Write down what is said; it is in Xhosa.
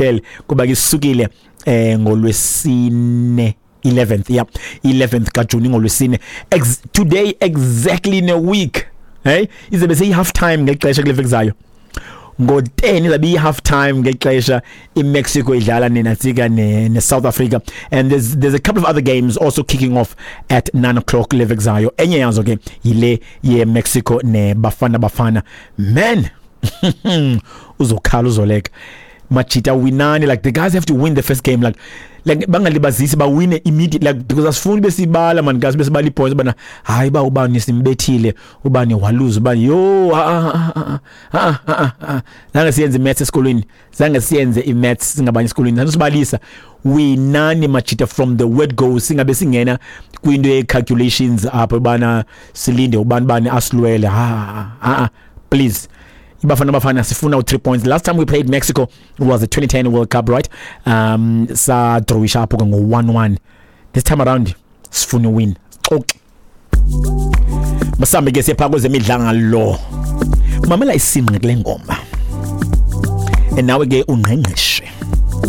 Phele kuba ke isukile ngolwesine 11th, yeah, 11th kaJuni, ngolwesine. Today exactly in a week, hey, izobe seyi half time ngexesha kule veki zayo. Ngo-10 izabe iyi-half time ngexesha iMexico idlala nenatsika ne-South Africa, and there's a couple of other games also kicking off at 9 o'clock le veki zayo. Enye yazo ke yile ye-Mexico neBafana Bafana. Man, uzokhala uzoleka. Majita, winani. Like, the guys have to win the first game, like bangalibazisi, bawine immediately, like, because asifuni besibala, man, guys, besibala ipoints bana, hayi ba ubani simbethile, ubani waluza, ubani yo. Ah ah ah ah ah, zange siyenze maths esikolweni, zange siyenze imaths singabanye esikolweni, sanosibalisa. Winani, majita, from the word go. Singabe singena kwinto ye calculations apho bana silinde ubani bani asilwele. Ah ah, please, iBafana Bafana, sifuna u 3 points. Last time we played Mexico was the 2010 World Cup, right? Sa drawisha apho ngo 1-1. This time around sifuna win. Xoxe masambe ke siyapha kwezemidlalo. Mamela isinqe kule ngoma, and nawe ke ungqengqeshe.